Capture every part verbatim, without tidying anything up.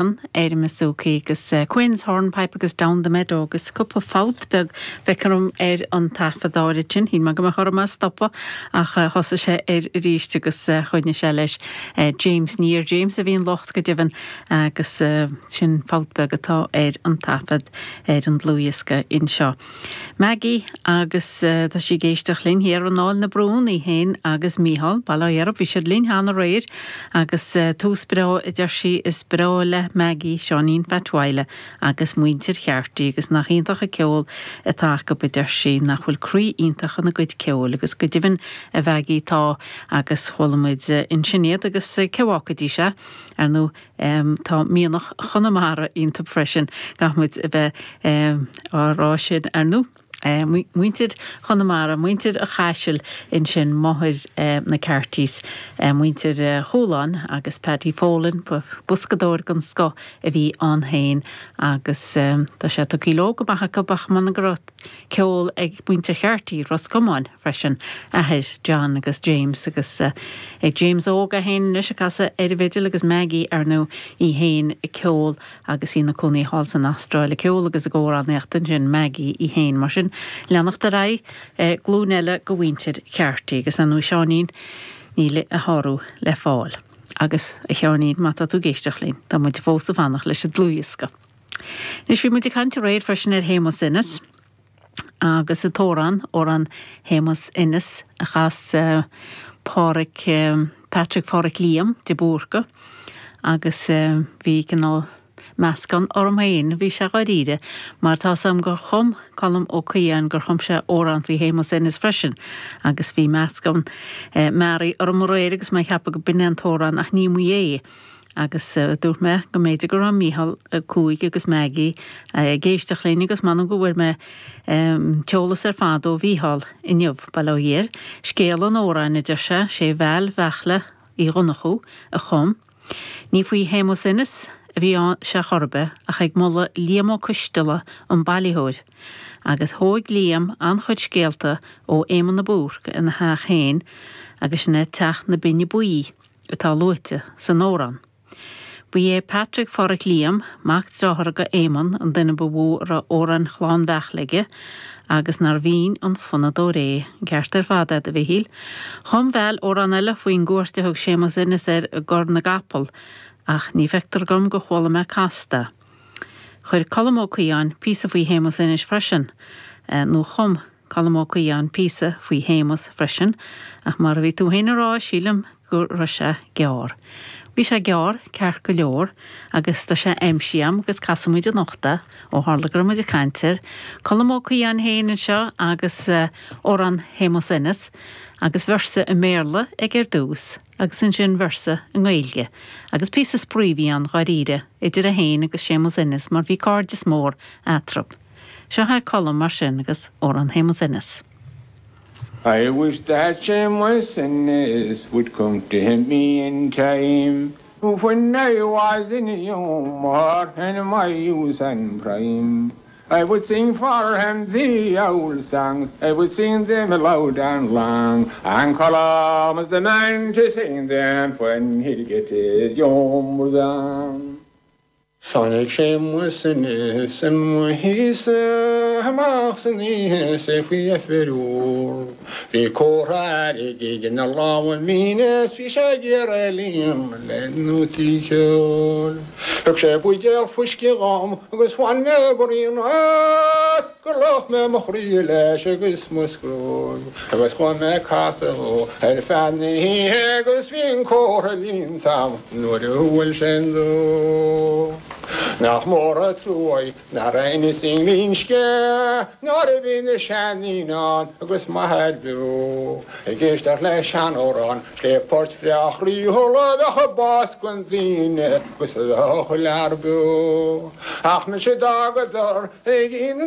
Ar an mBasúcaí agus Quinn's Hornpipe agus Down the Meadow agus cúpla fabht beag feictear dom ar an taifead áirid sin. Shíl mé go mbeadh orm é a stopadh ach thosaigh sé air arís agus choinnigh sé leis James ní ar James a bhí an locht go deimhin agus sin fabht beag atá ar an taifead ar an dlúthdhiosca anseo. Maggie agus tá sí ag éisteacht linn thiar in Áill na Brún í féin agus Mícheál Baile Átha Dheirb bhí siad linn cheana aréir agus tús breá a deir sí is breá le Maggie Seáinín Phat Mhaidhle agus muintir Cheartaí agus nach iontach an ceol atá acu a deir sí nach bhfuil croí iontach ina gcuid ceoil agus go deimhin a Mhaggie tá agus chuala muid ansin iad agus cé bhfágfaidís é ar ndóigh tá mianach Chonamara iontu freisin gach muid a bheith á rá sin ar ndóigh. Muintir Chonamara, muintir an Chaisil ansin máthair na Cartys, muintir Chualáin agus Paddy Folan, boscadóir den scoth a bhí ann féin agus tá sé tugtha leo go maith acu ach m'anam go raibh ceol ag muintir Cheartaí Ros Comáin freisin, athair John agus James agus ag James óg é féin anois ag casadh ar an bhfidil agus Maggie ar ndóigh í féin ag ceol agus í ina cónaí thall san Astráil ag ceol agus ag amhránaíocht ansin Maggie í féin mar sin leanacht ar aghaidh glúin eile de mhuintir Cheartaí agus ar ndóigh Seáinín níl a shárú le fáil. Agus a Sheáinín má tá tú ag éisteacht linn, tá muid fós ag fanacht leis an dlúthdhiosca. Anois bhí muid ag caint aréir freisin ar Shéamus Ennis agus an t-amhrán, amhrán Shéamus Ennis a chas Pádraic Patrick Phádraic Liam de Búrca agus bhí cineál meascán orm féin, bhí sé dháiríre, mar tá 's agam gur chum Colm Ó Caodháin gur chum sé amhrán faoi Shéamus Ennis freisin agus bhí meascán mearaí orm aréir agus mé ag ceapadh go b'in é an t-amhrán ach ní maith é. Agus dúirt mé go mb'fhéidir go raibh Mícheál Ó Cuaig agus Maggie ag éisteacht linn agus m'anam go bhfuair mé t-eolas ar fad ó Mhícheál inniu, bail ó Dhia air. Scéal an amhráin, a deir sé, sé Val Bheartla Uí Dhonnchú a chum. Ní faoi Shéamus Ennis a bhí sé chor ar bith ach ag moladh Liam Ó Coisteala an bailitheoir. Agus thóig Liam an-chuid scéalta ó Éamonn de Búrca ina theach féin agus sin é Teach na Binne Buí atá luaite san amhrán. Ba é Patrick Phádraic Liam, mac dearthára go Éamonn, an duine ba mhó a raibh amhráin Chlann Bheartla aige agus nár bhinn an fonnadóir é, an ceart ar fad agat a Mhichíl. Chum Val amhrán eile faoin gcuairt a thug Séamus Ennis air i gCorr na gCapall, ach ní feictear dom gur chuala mé casta. Chuir Colm Ó Caodháin píosa faoi Shéamus Ennis freisin, nó chum Colm Ó Caodháin píosa faoi Shéamus freisin, ach mar a bhí tú féin a rá, sílim go raibh sé gearr. Bhí sé gearr, ceart go leor, agus tá sé aimsithe agam agus casfaidh muid anocht é, ó tharla go raibh muid ag caint air. Colm Ó Caodháin féin anseo agus amhrán Shéamus Ennis, agus véarsa i mBéarla ag ar dtús, agus ansin véarsa i nGaeilge. Agus píosa spraoi a bhí ann, dháiríre, idir é féin agus Séamus Ennis mar bhí cairdeas mór eatarthu. Seo é Colm mar sin agus amhrán Shéamus Ennis. I wish that Seamus Ennis would come to me in time When I was in humour in my youth and prime I would sing for him the old songs I would sing them loud and long And Colm is the man to sing them when he'll get his humours on. Tháinig Séamus Ennis i mo thíghse amach san oíche is é faoi dheifir úr. Bhí comhartha airgid ina lámha mín is bhí sé ag iarraidh líonadh le nótaí ceoil. Thug sé buidéal fuisce dhom agus bhain mé braon as gur fhliuch mé mo chroí leis agus mo scroll. Agus chuaigh mé ag casadh dhó ar feadh na hoíche agus bhí an comhartha líonta a'm nuair a bhuail sé an dó. Nach mór an trua nár inis aon scéal nuair a bhí na seandaoine ann agus m'athair beo ag éisteacht le seanamhrán 's le port bhreá chroíúil a bheadh ag bás don duine agus a bheadh an lear beo. Ach mise d'fhágadar ag na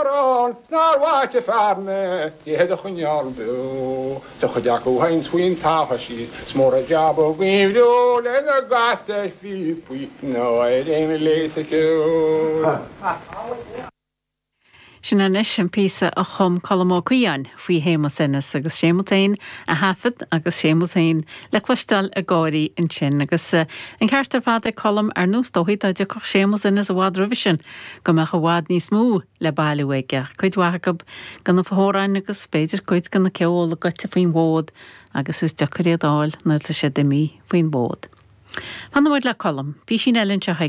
n-amhrán 's nár mhaith an fear mé iad a choinneáil beo. 'S an chuid acu a théanns faoin talamh síos 's mór an jab a gcuimhniú lena gcasadh ar phíopaí nó ar aon ghléas ceoil. Sin anois an píosa a chum Colm Ó Caodháin faoi Shéamus Ennis agus Séamus féin a thaifead agus Séamus féin le cloisteáil ag gáirí ansin agus eh, an ceart ar fad ag Colm ar nós dóigh dá dtiocfadh Séamus Ennis i bhfad roimhe sin go mbeadh i bhfad níos mó le bailiú aige cuid mhaith de na hamhráin agus b'fhéidir cuid den cheol goite faoin bhfód agus is deacair iad a fháil nuair atá sé imithe faoin bhfód. Fanfaidh muid le Colm, bhí sin eile seo